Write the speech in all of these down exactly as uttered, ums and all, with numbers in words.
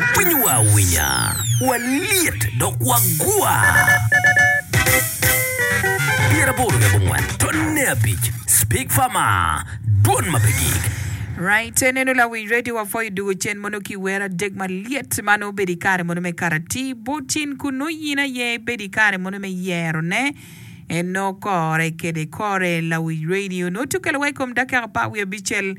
Winyowa awinya, walyet dok wagwa. Pyeraboro ki abongwen tonne abic Speak Farmer, dwon ma pe gik. Right, eneno lawiny radio wapwoyo dugo cen mono ki wer adek malyet ma nongo obedo i kare mono me karati bot in kunu in aye ibedo i kare mono me yerone eno kore kede kore lawiny radio nongo tye okelo wa i kom dakika apar wiye abicel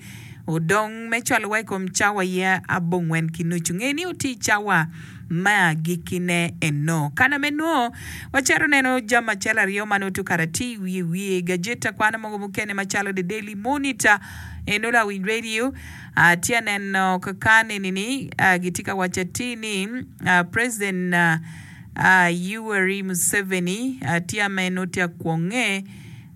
odong me cwalo wa i kom cawa ye abongwen ki nucu nge ni oti cawa me agikkine eno kana me nwo wacito neno jami acel aryo ma nongo tye karati wiye wiye gajeta kwana mogo mukene macalo The Daily Monitor eno lawiny radio uh, tye aneno kakan eni-ni uh, gitye ka waco atir ni uh, President uh, uh, Yoweri Museveni uh, tye ame nongo tye akwonge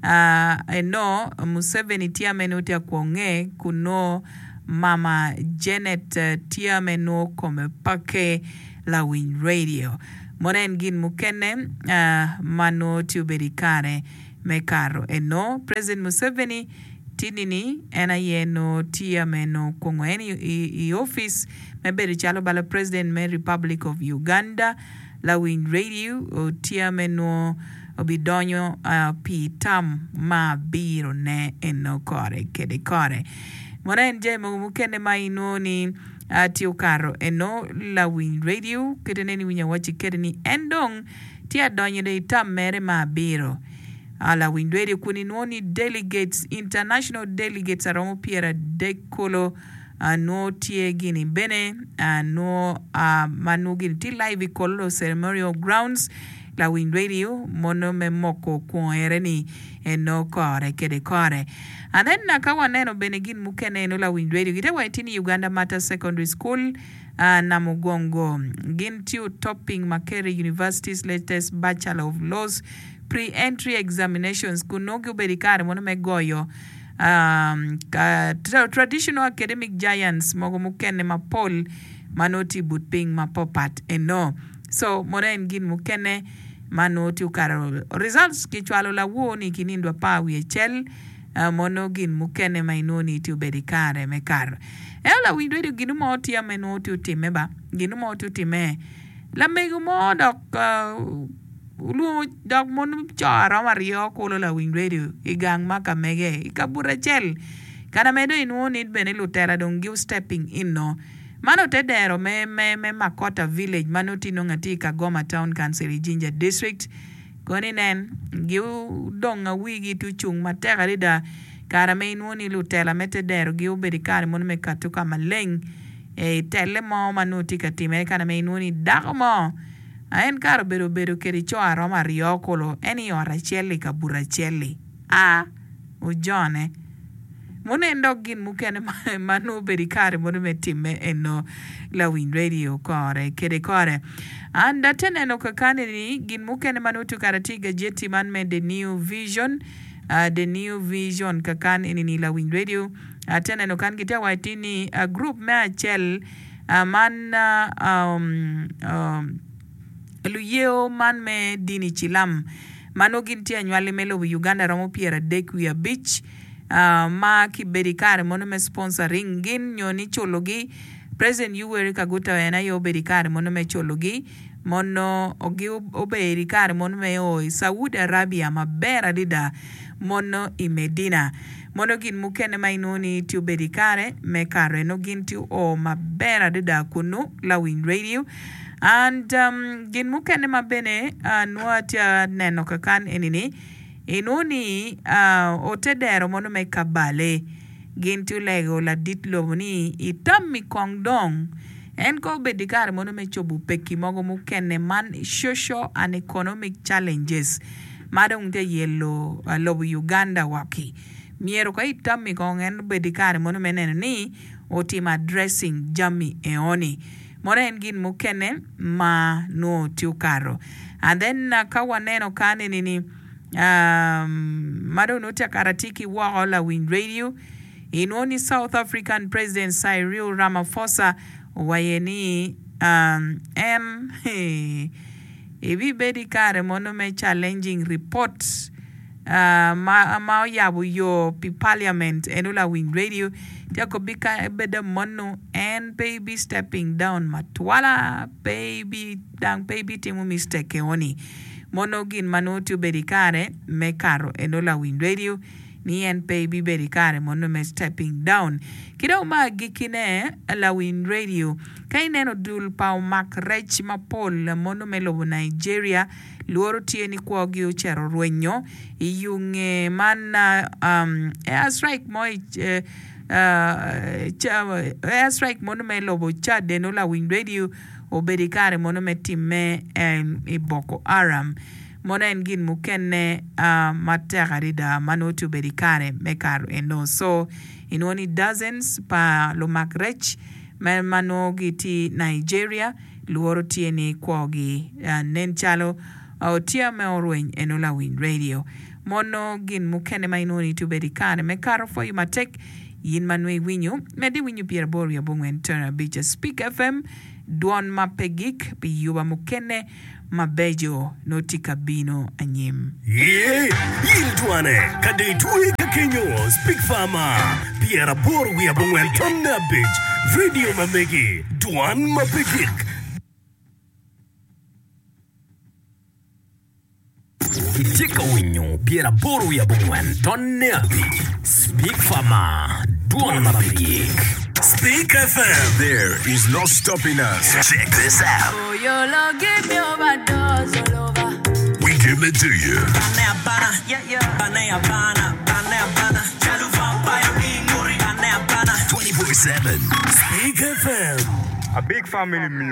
uh, eno Museveni tye ame nongo tye akwonge kun nongo Mama Janet uh, tye ame nongo kome pake lawiny radio mono en gin mukene uh, ma nongo tye obedo i kare me kato eno President Museveni tinini en aye nongo tye ame nongo kwongo en i, i, i office me bedo calo bala President me Republic of Uganda lawiny radio tye ame nongo obidonyo uh, pi tam ma abirone eno kore kede kore mono en jami mogo mukene ma inwongo ni uh, tye okato eno lawiny radio kite neni winyo awaci kede ni en dong tye adonyo i tam mere ma abiro uh, lawiny radio kun inwongo ni delegates international delegates aromo pyera adek kolo uh, nwo tye gini bene uh, nwo uh, ma nwo gini tye live i Kololo ceremonial grounds lawiny radio mono me moko kwonere ni eno kore kede kore. And then uh, ka waneno bene gin mukene eno lawiny radio gite waci tye ni Uganda Martyrs Secondary School uh, Namugongo gin tye topping Makerere University's latest Bachelor of Laws pre-entry examinations kun nongo obedo i kare mono me goyo um, ka, tra traditional academic giants mogo mukene mapol ma nongo tye i but piny mapapat eno. So mono en gin mukene ma nongo tye okato results kicwalo lawor ni ki nindo apar wiye acel uh, mono gin mukene ma inwongo ni tye obedo i kare me kato ento lawiny radio gin mo tye ame nongo tye otimme ba gin mo tye otimme lamego mo dok uh, olwongo dok mon co aromo aryo kulo lawiny radio i gang ma ka mege i kabuto acel kana me dong inwongo ni bene lutela dong gi stepping in no mano te dero me, me, me Makota village ma nongo tye nongo atye i Kagoma Town Council i Jinja District koni nen gidong wigi tye ocung matek adada kare ma inwongo ni lutela me te dero gi obedo i kare mono me kato ka maleng e telle mo ma nongo tye ka timere kana ma inwongo ni dako mo en kare obedo obedo kede co aromo aryo kulo en i ot acel i kabuto acel-li a ojone mono en dok gin mukene ma nongo obedo i kare mono me timme eno lawiny radio kore kede kore and ate neno kakani ni gin mukene ma nongo tye kare tye i gajeti man me The New Vision uh, The New Vision kakan enini lawiny radio ate neno kan gitye waco ni uh, group me acel uh, man uh, um, um, luyeo man me dini cilam ma nongo gin tye anywali me lobo Uganda romo pyera adek wiye abic uh, ma kibedo i kare mono me sponsoring gin nyo ni culogi President Yoweri Kaguta en aye obedo i kare mono me culogi mono gi obedo i kare mono me o i Saudi Arabia maber adada mono i Medina mono gin mukene ma inwongo ni tye obedo i kare me kato eno gin tye o maber adada kunu lawiny radio and um, gin mukene ma bene uh, nwo atye aneno kakan enini inwongo ni uh, ote dero mono me Kabale gin tye olego ladit lobo ni itammi kong dong en ko obedo i kare mono me cobo peki mogo mukene man social and economic challenges ma dong tye yelo uh, lobo Uganda waki myero ko itammi kong en obedo i kare mono me neno ni otimo addressing jami eoni mono en gin mukene ma nwo tye okato. And then uh, ka waneno kan enini um, ma dong nongo tye akato atye ki woko lawiny radio inwongo ni South African President Cyril Ramaphosa owaye ni um, en ibibedo i kare mono me challenging report ma ma oyabo yo pi parliament eno lawiny radio tye akobi ka ebeda monu en pe ibi stepping down matwala pe ibi dang pe ibi timo mistake eoni mono gin ma nongo tye obedo i kare me kato eno lawiny radio ni en pe ibibedo i kare mono me stepping down. Ki dong me agikkine, lawiny radio, ka ineno dul pa omak rec mapol mono me lobo Nigeria, lworo tye ni kwogi ocito orwenyo i yo nge man air strike mo i air strike mono me lobo Chad eno lawiny radio obedo i kare mono me timme i Boko Haram. Mono en gin mukene matek adada ma nongo tye obedo i kare me kato eno. So, inwongo ni dozens pa lumak rec ma nongo gitye i Nigeria lworo tye ni kwogi nen calo tye me orweny eno lawiny radio. Mono gin mukene ma inwongo ni tye obedo i kare me kato pwoyo matek in ma nongo iwinyo, medde iwinyo pyeraboro wiye abongwen tara abic Speak F M dwon ma pe gik pi yuba mukene mabeco nongo tye ka bino anyim. Ye, in twane, ka dong itwe ka kenyo, Speak Farmer, pyeraboro wiye abongwen tonne abic, radio ma megi, dwan ma pe gik. Itye ka winyo pyeraboro wiye abongwen tonne abic Speak Farmer, dwon ma pe gik. Speak F M. There is no stopping us. Check this out. Oh, your love give me overdose all over. We give it to you. twenty-four seven. Speak F M. A big family music.